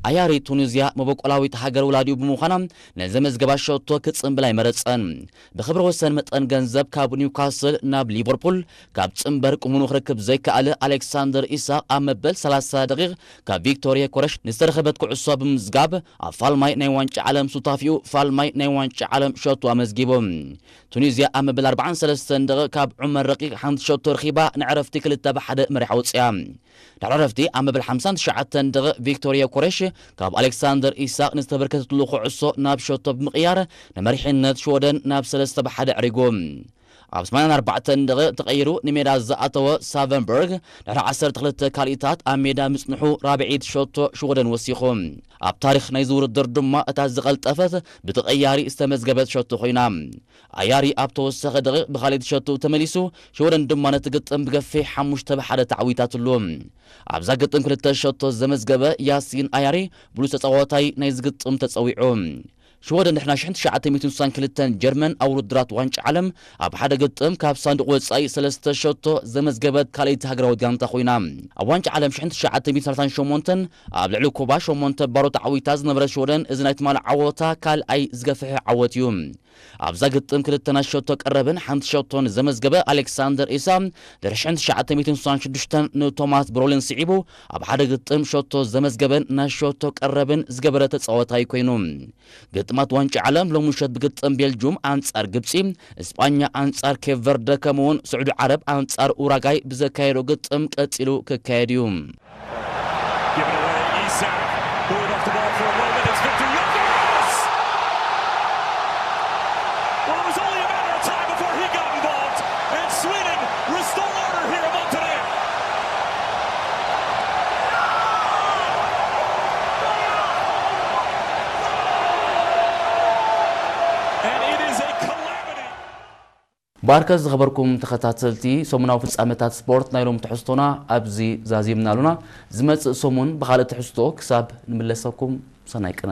ኣያሪ ቱኒዝያ መበቆላዊት ሃገር ወላዲኡ ብምዃና ነዘመዝገባ ሸቶ ክጽንብል ኣይመረጸን። ብኽብረ ወሰን መጠን ገንዘብ ካብ ኒውካስል ናብ ሊቨርፑል፣ ካብ ጽንበር ቅሙኑ ክርክብ ዘይከኣለ ኣሌክሳንደር ኢሳቕ ኣብ መበል ሰላሳ ደቂቕ ካብ ቪክቶር ዮከረሽ ንዝተረኸበት ኩዕሶ ብምዝጋብ ኣብ ፋልማይ ናይ ዋንጫ ዓለም ሱታፊኡ ፋልማይ ናይ ዋንጫ ዓለም ሸቶ ኣመዝጊቡ። ቱኒዝያ ኣብ መበል ኣርባዓን ሰለስተን ደቂቕ ካብ ዑመር ረቂቕ ሓንቲ ሸቶ ረኺባ ንዕረፍቲ ክልተ ብሓደ መሪሓ ወጽያ። ድሕሪ ዕረፍቲ ኣብ መበል ሓምሳን ትሽዓተን ደቂቕ ቪክቶር ዮከረሽ ካብ ኣሌክሳንደር ኢሳቕ ንዝተበርከተትሉ ኩዕሶ ናብ ሸቶ ብምቕያር ንመሪሕነት ሽወደን ናብ ሰለስተ ብሓደ ኣዕሪጉ። ኣብ ሰማንያን ኣርባዕተን ደቂቕ ተቐይሩ ንሜዳ ዝኣተወ ሳቨንበርግ ድሕሪ ዓሰርተ ክልተ ካልኢታት ኣብ ሜዳ ምጽንሑ ራብዒት ሸቶ ሽወደን ወሲኹ። ኣብ ታሪኽ ናይዚ ውድድር ድማ እታ ዝቐልጠፈት ብተቐያሪ ዝተመዝገበት ሸቶ ኮይና። ኣያሪ ኣብ ተወሰኸ ደቂቕ ብኻልኢት ሸቶ ተመሊሱ፣ ሽወደን ድማ ነቲ ግጥም ብገፊሕ ሓሙሽተ ብሓደ ተዓዊታትሉ። ኣብዛ ግጥም ክልተ ሸቶ ዘመዝገበ ያሲን ኣያሪ ብሉጽ ተጻዋታይ ናይዚ ግጥም ተጸዊዑ። ሽወደን ድሕና ሽሕን ትሽዓተ ሚእትን ስሳን ክልተን ጀርመን ኣብ ውድድራት ዋንጫ ዓለም ኣብ ሓደ ግጥም ካብ ሳንዱቕ ወጻኢ ሰለስተ ሸቶ ዘመዝገበት ካልኣይቲ ሃገራዊት ጋንታ ኮይና። ኣብ ዋንጫ ዓለም ሽሕን ትሽዓተ ሚእትን ሰላሳን ሸሞንተን ኣብ ልዕሊ ኩባ ሸሞንተ ባሮ ተዓዊታ ዝነበረት ሽወደን እዚ ናይ ትማሊ ዓወታ ካልኣይ ዝገፍሐ ዓወት እዩ። ኣብዛ ግጥም ክልተ ናይ ሸቶ ቀረብን ሓንቲ ሸቶን ዘመዝገበ ኣሌክሳንደር ኢሳ ድሕሪ ሽሕን ትሽዓተ ሚእትን ስሳን ሽዱሽተን ንቶማስ ብሮልን ስዒቡ ኣብ ሓደ ግጥም ሸቶ ዘመዝገበን ናይ ሸቶ ቀረብን ዝገበረ ተጻዋታይ ኮይኑ። ግጥማት ዋንጫ ዓለም ሎሚ ምሸት ብግጥም ቤልጁም ኣንጻር ግብጺ፣ እስጳኛ ኣንጻር ኬፕ ቨርደ ከምኡውን ስዑዲ ዓረብ ኣንጻር ኡራጋይ ብዘካየዶ ግጥም ቀጺሉ ክካየድ እዩ። Given away, Isak. Bought off the ball for a moment. It's Victor Gyökeres! Well, it was only a matter of time before he got involved, and Sweden restore order here in Montenegro. And it is a calamity. ባርከ ዝኸበርኩም ተኸታተልቲ ሰሙናዊ ፍጻመታት ስፖርት ናይ ሎም ትሕዝቶና ኣብዚ ዛዚምና ኣሉና። ዝመጽእ ሰሙን ብኻልእ ትሕዝቶ ክሳብ ንምለሰኩም ሰናይ ቅነ።